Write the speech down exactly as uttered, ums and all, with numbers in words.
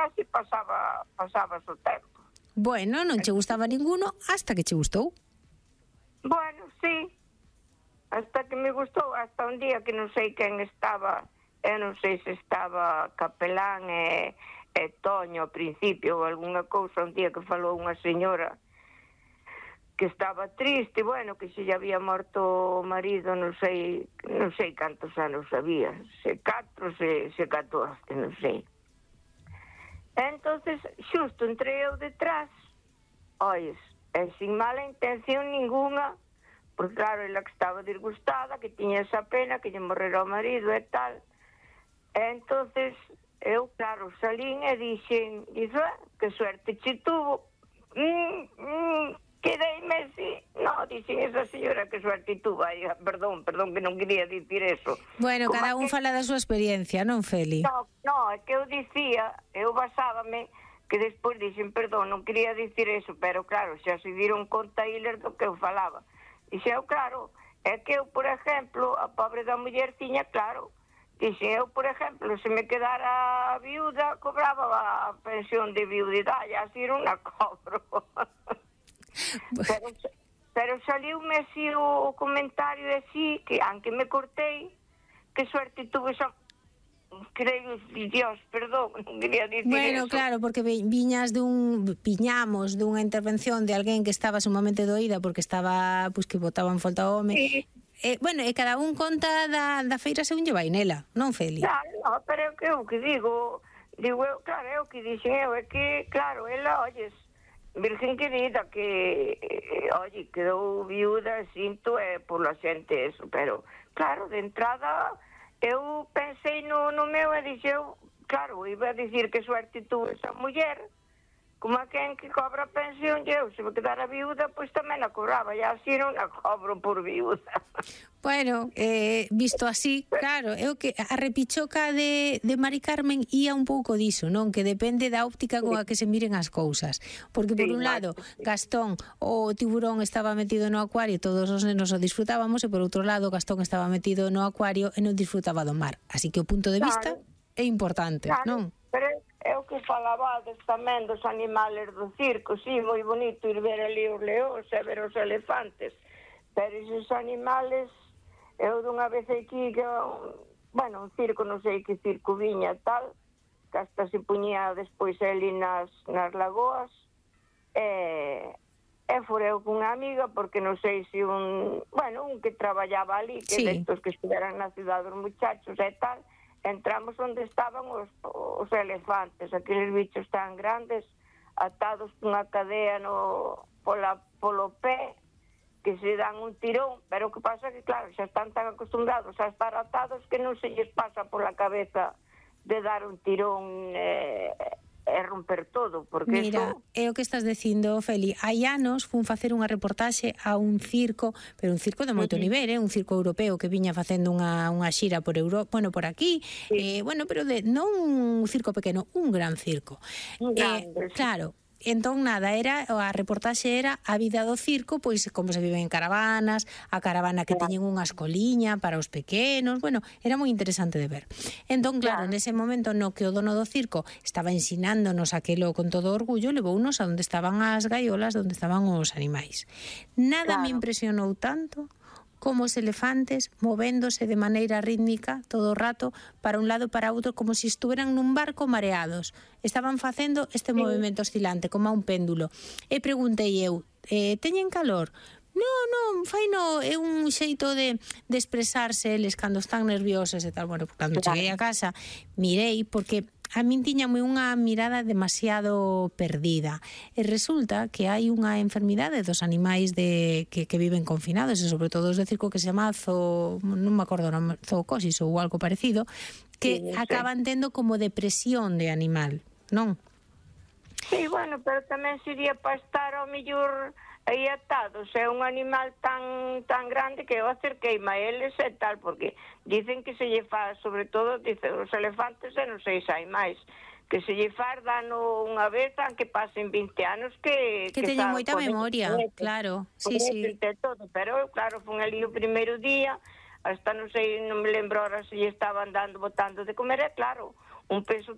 así pasaba pasabas o tempo. Bueno, non che gustaba ninguno hasta que che gustou. Bueno, sí, hasta que me gustou, hasta un día que non sei quen estaba, eu non sei se estaba Capelán e, e Toño ao principio ou algunha cousa, un día que falou unha señora que estaba triste, bueno, que se lle había morto o marido, non sei, non sei cantos anos había, se catro, se, se catorce, non sei. Entonces, xusto entrei eu detrás, ois, e sin mala intención ninguna, porque claro, ela que estaba disgustada, que tiña esa pena, que lle morrera o marido e tal. E entonces, eu, claro, salín e dixen, dixo, ah, que suerte che tuvo. Mm, mm, quedeime así. No, dixen esa señora que suerte tuvo. Ai, perdón, perdón, que non quería dicir eso. Bueno, como cada un que... fala da súa experiencia, non, Feli? No, no, é que eu dicía, eu basábame, que despois dixen, perdón, non quería dicir eso, pero claro, xa se dieron conta eles do que eu falaba. Dixen eu, claro, é que eu, por exemplo, a pobre da muller tiña, claro, dixen eu, por exemplo, se me quedara viuda, cobraba a pensión de viudidade, así non a cobro. pero, pero saliume así o, o comentario así, que aunque me cortei, que suerte tuve esa... Creo, Dios, perdón, non quería dicir bueno, eso. claro, porque viñas dun viñamos dunha intervención de alguén que estaba sumamente doída porque estaba, pois, que botaba en falta o home. Sí. Eh, bueno, e cada un conta da, da feira según lle vai nela, non, Feli? Claro, no, pero é que eu que digo, digo eu, claro, eu que dixen eu, é que, claro, ela, oyes, virgen querida, que, eh, oye, quedou viuda, sinto, é, por la xente eso, pero, claro, de entrada... Eu pensei no, no meu e dixeu, claro, iba a dicir que suerte tuvo esa muller, como a quen que cobra pensión, eu, se me quedara viuda, pois tamén a cobraba, e así non a cobro por viuda. Bueno, eh, visto así, claro, eu que a repichoca de, de Mari Carmen ía un pouco diso, non? Que depende da óptica con a que se miren as cousas. Porque por un lado, Gastón, o tiburón estaba metido no acuario, todos os nenos o disfrutábamos, e por outro lado, Gastón estaba metido no acuario e non disfrutaba do mar. Así que o punto de vista é importante, non? Pero é o que falabades tamén dos animales do circo, sí, moi bonito ir ver ali os leóns e ver os elefantes, pero esos animales, eu dunha vez aquí, que, bueno, un circo, non sei que circo viña tal, que hasta se puñía despois ali nas, nas lagoas, e, e foreu cunha amiga, porque non sei se un, bueno, un que traballaba ali, que sí. destos que estuveran na cidade dos muchachos e tal, entramos onde estaban os, os elefantes, aqueles bichos tan grandes, atados cunha cadea no, pola, polo pé, que se dan un tirón, pero o que pasa que, claro, xa están tan acostumbrados a estar atados que non se lles pasa pola cabeza de dar un tirón e, e romper todo, porque mira, eso... é o que estás dicindo, Feli. Hai anos fun facer unha reportaxe a un circo, pero un circo de moito uh -huh. nivel, eh? Un circo europeo que viña facendo unha, unha xira por Europa, bueno, por aquí, sí. eh, bueno, pero de, non un circo pequeno, un gran circo. Un grande, eh, claro, entón nada, era a reportaxe era a vida do circo, pois como se vive en caravanas, a caravana que claro. teñen unha escoliña para os pequenos, bueno, era moi interesante de ver. Entón, claro, claro, nese momento no que o dono do circo estaba ensinándonos aquelo con todo orgullo, levounos a onde estaban as gaiolas, onde estaban os animais. Nada claro. me impresionou tanto como os elefantes movéndose de maneira rítmica todo o rato para un lado e para outro como se si estuveran nun barco mareados. Estaban facendo este sí. movimento oscilante como a un péndulo. E preguntei eu, eh, teñen calor? Non, non, fai no, é un xeito de, de expresarse eles cando están nerviosos e tal. Bueno, cando claro. cheguei a casa mirei porque a min tiñame unha mirada demasiado perdida e resulta que hai unha enfermidade dos animais de, que, que viven confinados e sobre todo os de circo que se chama zo, non me acordo, non, zoocosis ou algo parecido que sí, acaban tendo como depresión de animal, non? Sí, bueno, pero tamén sería para estar ao mellor aí atados, é un animal tan tan grande que eu acerqueime a eles e tal, porque dicen que se lle fa, sobre todo, dicen os elefantes, e non sei se hai máis, que se lle fa dano unha vez, aunque pasen vinte anos, que... Que, que teñen moita memoria, claro, sí, sí. Todo, pero, claro, fun ali o primeiro día, hasta non sei, non me lembro ahora se lle estaban dando, botando de comer, e claro, un peso